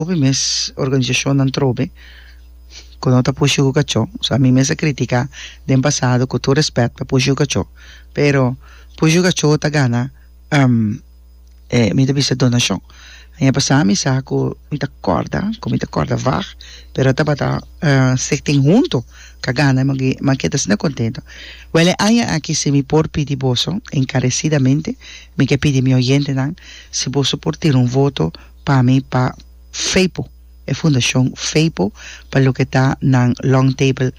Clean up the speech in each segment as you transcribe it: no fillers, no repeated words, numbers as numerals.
Hopi mes organisashonnan trobe ku no ta pushi ku kachó. So ami mes a kritiká den pasado ku tur rèspèt pa pushi ku kachó, pero pushi ku kachó ta gana e mi ta bisa donashon. Aña pasá mi sa ku mi ta kòrda ku mi ta kòrda vag pero tabata Stichting Hunto ku a gana mi a keda asina kontento. Wèl e aña aki si mi por pidi boso enkaresidamente mi ke pidi mi oyentenan si boso por tira un voto pa mi pa FEPO, e fundashon FEPO pa loke ta nan long table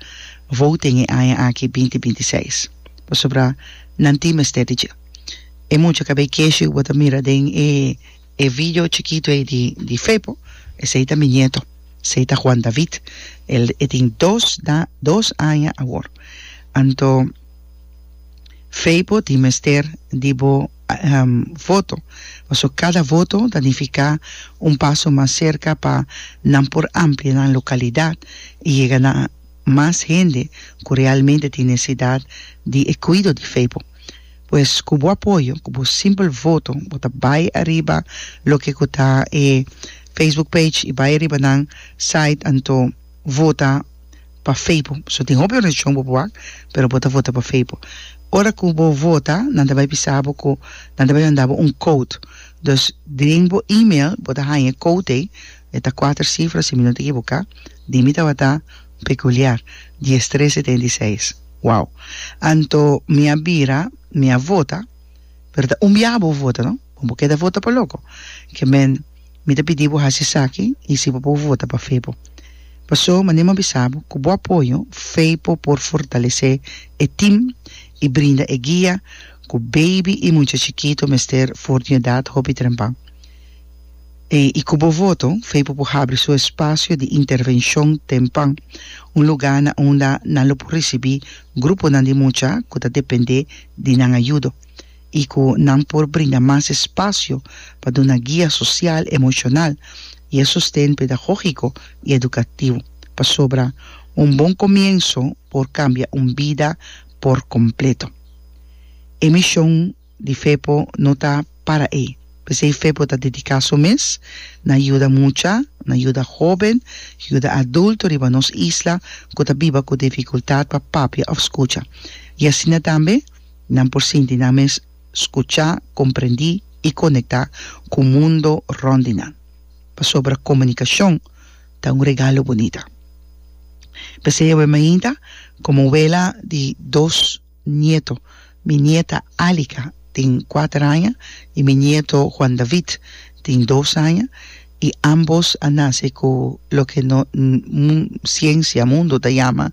voting e aña aki binti 26. Pasobra nan tin mester di dje. E mucha kabei keshi ku bo ta mira den e e video chikitu ei di di FEPO, esei ta mi nieto, esei ta Juan David. El e tin dos da dos aña awor. Anto FEPO tin mester di bo voto, pasobra kada voto ta nifiká un paso mas serka pa nan por amplia nan lokalidat i yega na mas hende ku realmente tin nesesidat di e kuido di FEPO. Pues ku bo apoyo, ku bo simpel voto, bo ta bai ariba loke ku ta e Facebook page i bai ariba nan site anto vota pa FEPO. So tin hopi organisashon bo por wak, pero bo ta vota pa FEPO. Ora ku bo vota, nan ta bai bisa bo ku nan ta bai manda bo un code. Dus den bo email bo ta haña e code ei, e ta kuater sifra si mi no ta ekiboká, di mi tabata pekuliar, diestres setenta i seis. Wow! Anto mi a bira, mi a vota, pero ta un biaha bo vota no, bo bo keda vota pa loko. Ke men mi ta pidi bo hasi esaki i si bo por vota pa FEPO. Paso manera mi a bisa bo, ku bo apoyo FEPO por fortalesé e tim i brinda e guia ku baby i mucha chikito mester for di un edat hopi trempan. I ku bo voto, FEPO por habri su espasio di intervenshon tempan, un lugá na unda nan lo por risibí gruponan di mucha ku ta dependé di nan ayudo i ku nan por brinda mas espasio pa duna guia sosial, emoshonal i e sosten pedagógiko i edukativo, pasobra un bon komienso por kambia un bida por kompleto. E mishon di FEPO no ta para ei. P'esei FEPO ta dediká su mes na yuda mucha, na yuda hóben, yuda adulto riba nos isla ku ta biba ku difikultat pa papia òf skucha. I asina tambe nan por sinti nan mes skuchá, komprendí i konektá ku mundo rònt di nan. Pasobra komunikashon ta un regalo bunita. P'esei awe mainta, komo wela di dos nieto, mi nieta Alika tin kuater aña i mi nieto Juan David tin dos aña i ambos a nase ku loke no siensia, mundo ta yama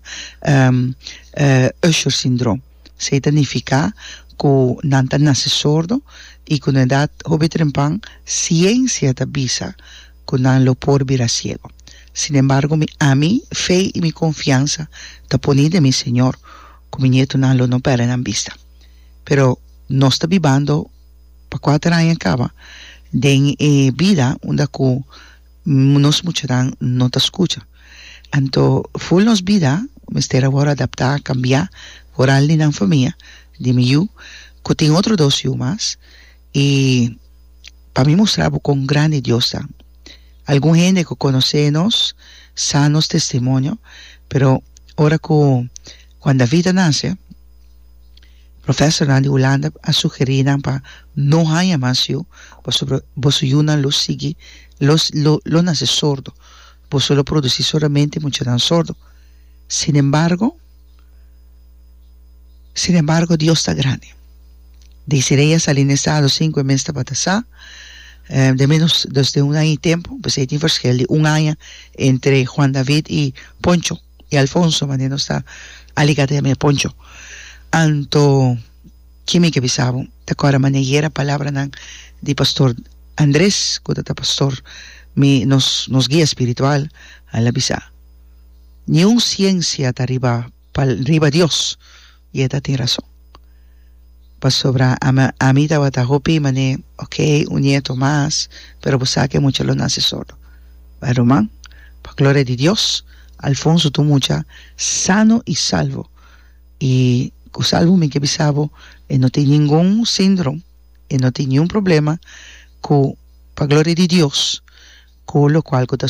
Usher syndroom. Esei ta nifiká ku nan ta nase sordo i ku na edat hopi trempan siensia ta bisa ku nan lo por bira siego. Sinembargo mi ami fe i mi konfiansa ta poni den mi Señor ku mi nietonan lo no pèrdè nan bista. Pero nos ta bibando pa kuater aña kaba den e bida unda ku nos muchanan no ta skucha. Anto ful nos bida mester a wòrdu adaptá, kambiá, foral di nan famia, di mi yu, ku tin otro dos yu mas, i pa mi mustra bo kon grandi Dios ta. Algun hende ku konosé nos sa nos testimonio, pero ora ku Juan David a nase, profesornan di Hulanda a sugerí nan pa no haña mas yu, pasobra boso yunan lo sigui lo lo nase sordo, boso lo produsí solamente muchanan sordo. Sinembargo, sinembargo Dios ta grandi. Desiree a sali na estado sin ku e mes tabata sa, de menos dus den un aña i tempu, p'esei tin verschil di un aña entre Juan David i Poncho, i Alfonso, manera nos ta aliga ta yama e Poncho. Anto, ki mi ke bisa bo? Ta kòrda manera yera palabranan di pastor Andres, ku ta ta pastor mi, nos, nos guia spiritual, el a bisa, Niun siensia ta riba, riba Dios, i e ta tin rason. Pasobra ami tabata hopi manera, ok, un nieto mas, pero bo sa ke mucha lo nase sordo. Bai ruman, pa gloria di Dios, Alfonso ta un mucha sano i salvo. I ku salvo mi ke bisa bo, e no tin ningun síndrome, e no tin niun problema ku, pa gloria di Dios. ku lokual ku ta.